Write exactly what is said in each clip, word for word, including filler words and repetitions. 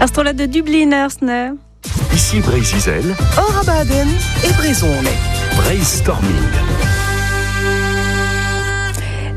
Ar strollad de Dubliners, ne? Ici Breizh-Izel, Hor abadenn e brezhoneg. Breizhstorming.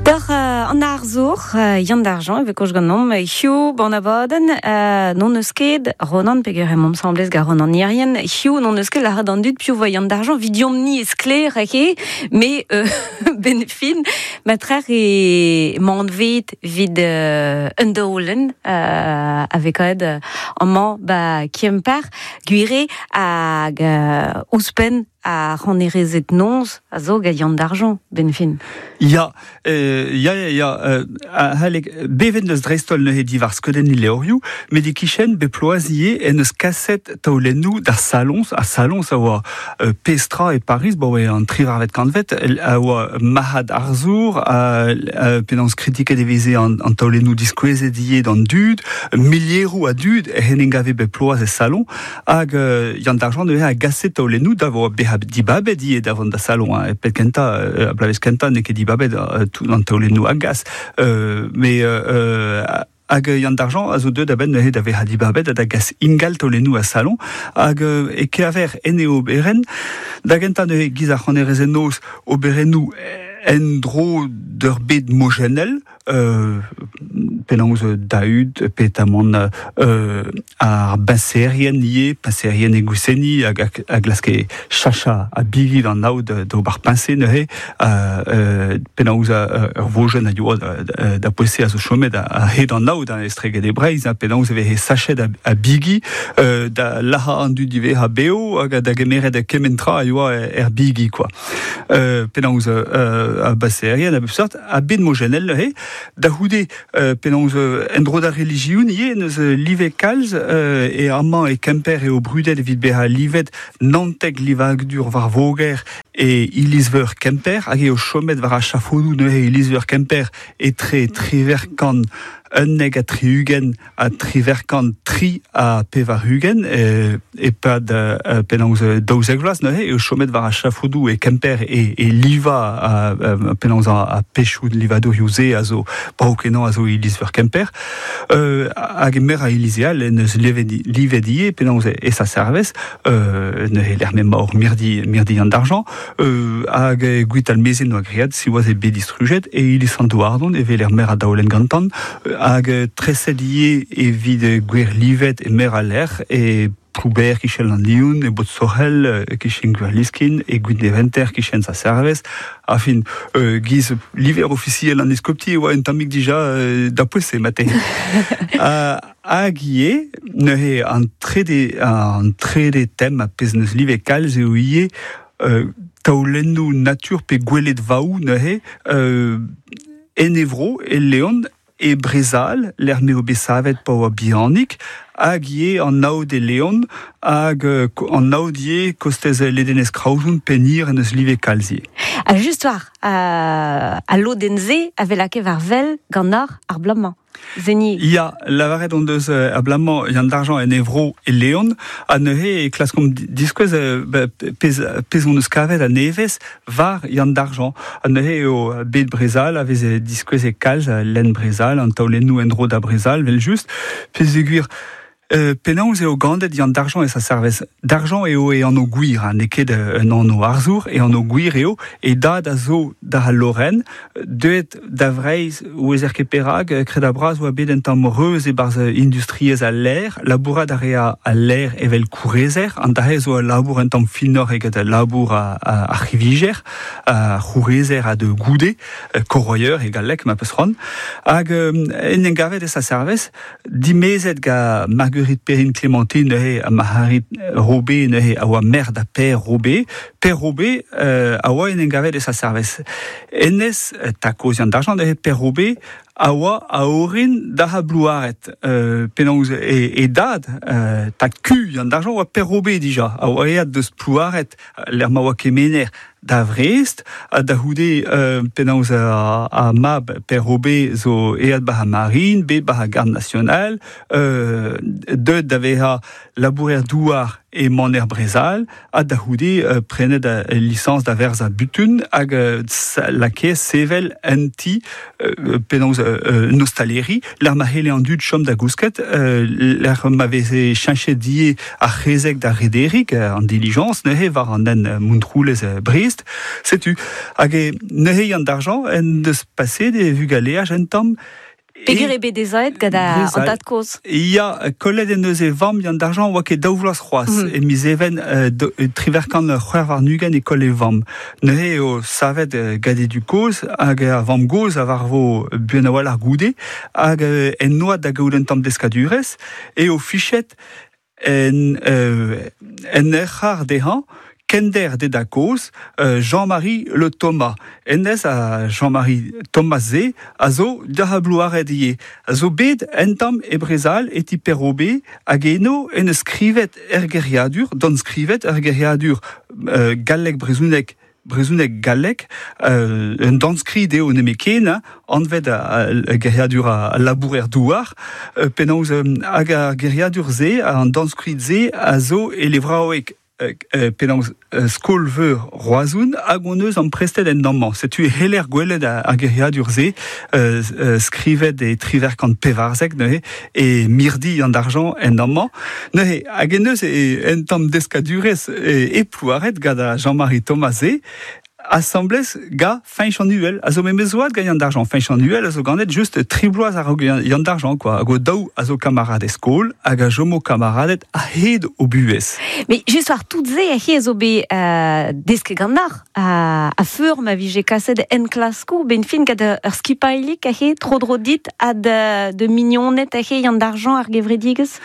Doc'h euh, an arzour, euh, Yann Dargent, e vez ganeomp, hiziv ban abadenn, euh, n'hon eus ket Ronan peger emaomp asambles gant Ronan Hirrien, hiziv n'hon eus ket lâret d'an dud piv oa Yann Dargent, 'vidomp-ni eo sklaer eo, met euh, 'benn fin, matrehe emañ anvet 'vit euh, un daolenn euh, a vez kavet euh, amañ ba Kemper, gwir eo hag euh, ouzhpenn ar c'hannerezed noz a zo gant Yann Dargent, 'benn fin. Ya, euh, ya, ya, ya, euh, a-halek, bevet neus dreist-holl neuze diwar skeudenniñ levrioù, met e-kichen bep bloaz ivez en deus kaset taolennoù d'ar salons, ar salons a oa euh, pestra e Paris, bo oa an triwec'hvet kantved, a oa marc'had arzour, a, a, penaos kritiket e veze an, an taolennoù diskouezet ivez d'an dud, milieroù a dud en em gave bep bloaz e salon, hag euh, Yann Dargent neuze a gase taolennoù da vo bezañ dibabet ivez da vont da salon, hein, e pet kentañ, euh, a bloavezh kentañ n'eo ket dibabet euh, tout an taolennoù a gas. Euh, mais euh, hag Yann Dargent a zo deuet a-benn neuze da vezañ dibabet ha da gas ingal taolennoù a salon hag euh, e kever en e oberenn da gentañ neuze giz ar c'hannerezed noz oberennoù en-dro d'ur bed mojennel, euh, penaos Dahud, petamant euh, ar beñserien ivez, peñserien e Gwiseni hag a glaske chacha a bigi d'an aod d'ober peñse neuze, euh, euh, penaos ur vojenn a yoa da poese a zo chomet a hed an aod an estreget e Breizh, penaos e veze sachet a, a bigi, euh, da lazhañ an dud ivez ha beo hag da gemeret kement tra a yoa er bigi, quoi. Euh, penaos euh, a beñserien a bep seurt, a bed mojennel neuze, da c'houde euh, penaos en-dro d'ar relijion ivez neus livet kalz euh, e amañ e Kemper eo brudet evit bezañ livet naontek livadur war voger e iliz-veur Kemper hag eo chomet war ar chafodoù neuze iliz-veur Kemper etre triwec'h kant unnek ha tri-ugent ha triwec'h kant tri ha pevar-ugent e, e-pad euh, penaos daouzek vloaz neuze eo chomet war ar chafodoù e Kemper e, e liva a, a, penaos a, a pechoù livadurioù-se a zo brav-kenañ a zo iliz-veur Kemper euh, hag e meur a iliz all en eus livet, livet ivez penaos e sa servez euh, neuze lec'h m'emañ hor mirdi, mirdi Yann Dargent euh, hag e Gwitalmeze noa graet siwazh eo bet distrujet e iliz Sant-Houardon evel er meur a daolenn gantan hag treset ivez evit gwer livet e meur a lec'h e Plouber kichen an Lioun, e Botsorel kichen Gwerliskin, e Gwineventer kichen sa servez. Afin, euh, giz liver ofisiel an eskopti e oa un tammig dija euh, da poese mate. uh, hag ivez, neuze an trede, an trede tem a pezh neus livet kalz eo ivez euh, taolennoù natur pe gweledvaoù neuze euh, en e vro, e Leon, e Brezal, lec'h m'eo bet savet pa oa bihanik, hag ivez an aod e Leon, hag an aod ivez kostez ledenez Kraozon Penhir en eus livet kalz ivez. Ha just war, euh, al lodenn-se a vez lakaet war wel ganeoc'h ar bloaz-mañ. Zeni. Ya, lavaret hon deus euh, a bloaz-mañ Yann Dargent en e vro e Leon, ha neuze e klaskomp diskouez euh, pezh, pezh hon eus kavet a nevez war Yann Dargent. Ha neuze eo bed Brezal a veze diskouez e kalz, lenn Brezal, an taolennoù en-dro da Brezal, vel just, peogwir Euh, penaos eo ganet Yann Dargent e sa servez. Dargent eo e anv gwir, hein, n'eo ket un anv arzour, e anv gwir eo, e dad a zo da al Lorraine, deuet da Vreizh ouezer ket perak, kredabl bras oa bet un tamm reuz e-barzh industriezh al lêr, labourat a rea al lêr evel kourezer, an dra-se zo al labour un tamm finoc'h eget al labour a, a, ar c'hivijer, a c'hourezer a de goude, corroyeur e galleg ma peus c'hoant, hag en en gavet e sa servez, dimezet ga Marguerite Perrine Clémentine neuze ha Marc'harid Robé neuze a oa merc'h da Per Robé. Per Robé euh, a oa en en gavet e sa servez. Hennezh tad-kozh Yann Dargent neuze Per Robé a oa a orin da ha Blouaret. Euh, penaos e, e dad, euh, tad-kuñv Yann Dargent oa Per Robé dija, a oa aet deus Plouaret, lec'h ma oa kemener da Vrest, ha da c'houde euh, penaos a, a mab Per Robé zo aet ba ar marine, bet ba ar garde nationale, euh, deuet da vezañ labourer douar e maner Brezal, ha da c'houde euh, prenet a licence da verz a butun, hag euh, lakae sevel un ti euh, penaos euh, nostaleri, l'ar ma hele an dud chom da gousket, euh, l'ar ma veze cheñchet die ar c'hezeg da rederik an diligence, neuze war an en Montroulez Brest, setu. Hag e neuze Yann d'argent en deus paset e vugaleaj en tamm. Peger e bet dezaet gant an tad-kozh. Ya, kollet en eus e vamm Yann d'argent oa ket daou vloaz c'hoazh. Mm. E miz even euh, triverkant c'hwec'h warn-ugent e koll e vamm. Neuze eo savet gant e du kozh hag ar vamm gozh a varvo buan a-walc'h ar goude hag en noad da gaout un tamm deskadurez eo fichet en, euh, en ec'har dezhañ kender de da koz, euh, Jean-Marie Le Thomas. Ennez a Jean-Marie Thomas ze a zo da blouaret ie. A zo bet entam e Brezal e ti Perrobe hag eno en skrivet er geriadur, don skrivet er geriadur euh, gallek brezounek brezounek gallek, euh, un danskrid eo nemeken, hein, anvet a, a geriadur a, a labourer douar, euh, penaos euh, hag ar geriadur ze, an danskrid ze, a zo e levraoueg euh, penaos euh, skol-veur Roazoun hag on eus an prestet en dammañ. Setu heler gwelet ar geriadur ze, euh, euh, skrivet e triverkant pevarzek neuze, e mirdi an d'argent en dammañ. Neuze, hag en eus e, en tamm deskadurez e, e plouaret gant a Jean-Marie Thomas ze, assemblez ga Feñch an Uhel. A zo memez oad gant Yann d'argent. Feñch an Uhel a zo ganet just tri bloaz a-raok Yann d'argent, quoi. Hag o daou a zo kamarad e skol, hag a jomo kamaradet a-hed o buhez. Mais just war tout ze a he a zo bet euh, deske gant ar, a, a feur ma vije kaset en klasko, ben fin gant ur skipailik a he tro dro dit a de, de mignonet a he Yann d'argent ar gevredigez?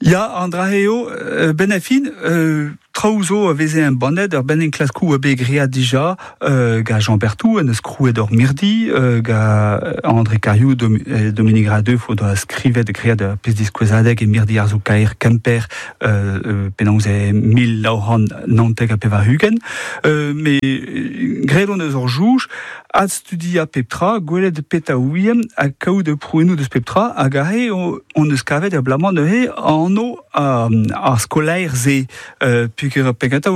Ya, an dra eo, euh, ben a fin, euh, traoù zo a veze un bannet, ur ben en klaskou a bet great dija, euh, ga Jean Berthou, en eus krouet ur mirdi, euh, ga André Cariou, Dom, euh, Dominique Radeuf, o doa skrivet great ur pezh diskouezadeg e mirdi ar zo kaer Kemper, euh, euh, penaos e mil nav c'hant naontek ha pevar-ugent. Euh, me graet on eus ur jouj, ad studia pep tra, gwelet pet a ouiem, ha kaout prouennoù deus pep tra, hag aze on eus kavet er blamañ neuze anv ar skolaer ze, euh, pugur pegata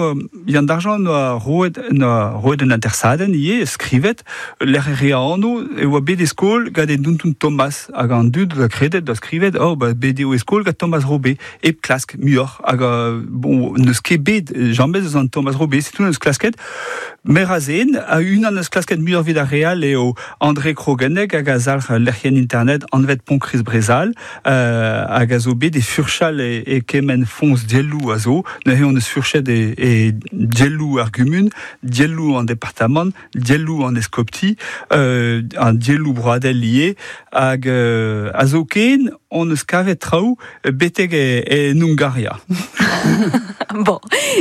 Yann d'argent noa roet noa roet un atersadenn ivez, skrivet, lec'h re anv e oa bet e skol gant e Dontun Thomas, hag an dud da kredet da skrivet, oh, ba, bet eo e skol gant Thomas Robé, e klask muioc'h, hag bon, n'eus ket bet james eus an Thomas Robé, setu n'eus klasket, mer a zen, a unan eus klasket muioc'h vid ar real eo André Krogenek hag a zalc'h lec'hienn internet anvet Pont-Kriz Brezal, euh, hag a zo bet e furchal e, e kement foñs dielloù a zo, neuze on eus furchet e, e dielloù ar gumun, dielloù an departamant, dielloù an eskopti, euh, an dielloù broadel lié, hag euh, a zo ken on eus kavet traoù betek e, e Hungaria. Bon,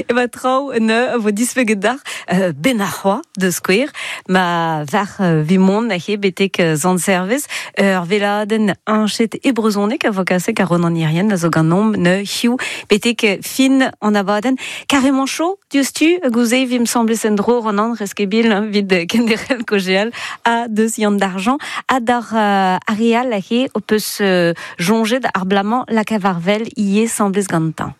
e ba traoù ne vo dispeget d'ar euh, ben ar c'hoa de skouer, ma var euh, vimon a he betek zant service, ur veladenn añchet e brezhoneg a vo kasek a Ronan Irien a zo ganeomp ne hiziv betek fin an abadenn. Carrément chaud, diouzhtu, gouze vim semblez en dro Ronan reskebil vid kenderel kojeal a deus Yann d'argent a d'ar euh, areal a he o peus euh, jonjet ar blamañ lakavarvel ie semblez gantañ.